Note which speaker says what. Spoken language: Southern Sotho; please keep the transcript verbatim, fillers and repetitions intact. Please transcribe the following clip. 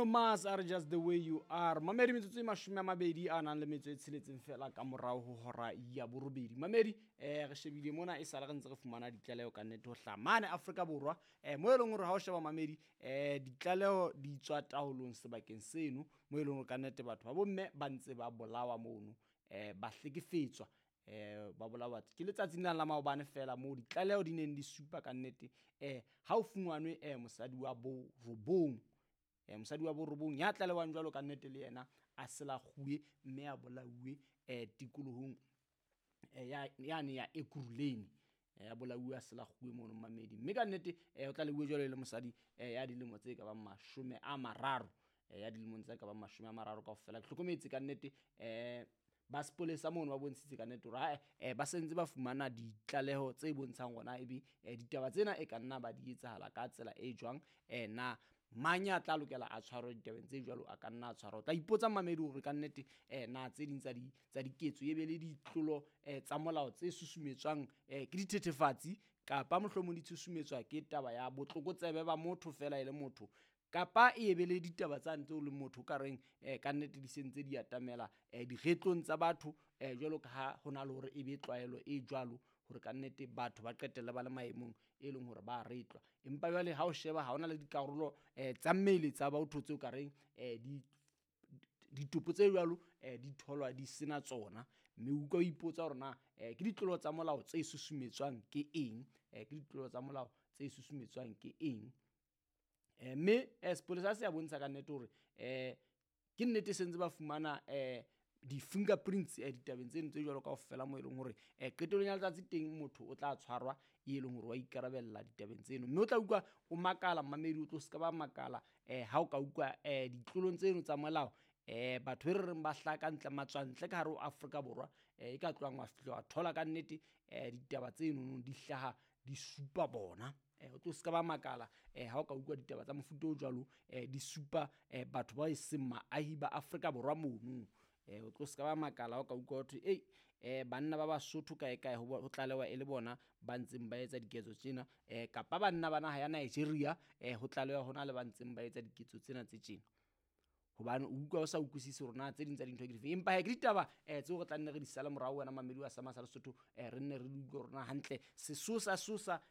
Speaker 1: Bruno Mars a re "Just the Way You Are". Mamedi, metsotso e mashome a mabedi a nang le metso e tsheletseng fela ka morao ho hora ya borobedi. Mamedi, um re shebile mona e sale re ntse re fumana ditlaleho ka nnete ho hlaha mane Afrika Borwa, um mo e leng hore ha o sheba, mamedi, um ditlaleho di tswa taolong sebakeng seno mo e leng hore ka nnete batho ba bomme ba ntse ba bolawa mono, um ba hlekefetswa, um ba bolawa. Ke letsatsing lena la maobane fela moo ditlaleho di neng di supa ka nnete um ha o fumanwe um mosadi wa bo robong, um mosadi wa borobong ya tlalewang jwalo ka nnete le yena a selakguwe mme a bolauwe um tikolohong yane ya Ekurhuleni, ya bolauwe a selakguwe mono, mamedi. Mme ka nnete um o tlaleuwe jwalo e le mosadi um ya dilemo tse ka bang mashome a mararo, ya dilemong tse ka bang mashome a mararo kaofela. Ke hlokometse ka nnete um ba sepolesa mono ba bontshitse ka nnete hore ae, ba sentse ba fumana ditlaleho tse bontshang hona ebe ditaba tsena e ka nna ba di etsahala ka tsela e jwang. um na mang ya tla lokela a tshwarwe ditabeng tse jwalo, a ka nna a tshwarwa. O tla ipotsa, mamedi, hore ka nnete um na tse ding tsa di tsa diketso e be le ditlolo um tsa molao tse susumetswang um ke dithethefatsi, kapa mohlomong di tshusumetswa ke taba ya botlokotsebe ba motho fela e le motho, kapa e be le ditaba tsane tseo leng motho o ka reng um ka nnete di sentse di atamela um diretlong tsa batho, um jwalo ka ha ho na le hore e be tlwaelo e jwalo hore ka nnete batho ba qetelle ba le maemong e leng hore ba retlwa. Empa jwale ha o sheba ha hona le dikarolo um tsa mmele tsa batho tseo ka reng um di ditopo tse jwalo um di tholwa di sena tsona, mme o utlwa o ipotsa hore na um ke ditlolo tsa molao tse susumetswang ke eng, um ke ditlolo tsa molao tse susumetswang ke eng. um Mme um sepolesa se a bontsha ka nnete hore um ke nnete se ntse ba fumana um di-fingerprints um ditabeng tseno tse jwalo kaofela, mo e leng hore um qetellong ya letsatsi teng motho o tla tshwarwa e leng hore wa ikarabella ditabeng tseno. Mme o tla utlwa o makala, mamedi, o tlo se ka ba makala um ha o ka utlwa um ditlolong tseno tsa molao um batho be re reng ba hlaha ka ntle, matswantle ka hare ho Afrika Borwa, um e ka tlohang wa fihla wa thola ka nnete um ditaba tsenono di hlaha di supa bona. O tlo se ka ba makala um ha o ka utlwa ditaba tsa mofuta o jwalo um di supa um batho ba e seng maahi ba Afrika Borwa mono. um O tlo se ka ba makala ha o ka utlwa hothwe ei, um banna ba Basotho kae kae ho tlalewa e le bona ba ntseng ba etsa diketso tsena, um kapa banna ba naha ya Nigeria um ho tlalewa hona le ba ntseng ba etsa diketso tsena tse tjena, hobane o utlwa o sa utlwisise hore na tse ding tsa dintho ke dife. Empa he ke ditaba um tseo re tla nne re di sale morao, wena mamedi wa Sama sa Lesotho, um re nne re di utlwe hore na hantle sesosa sosa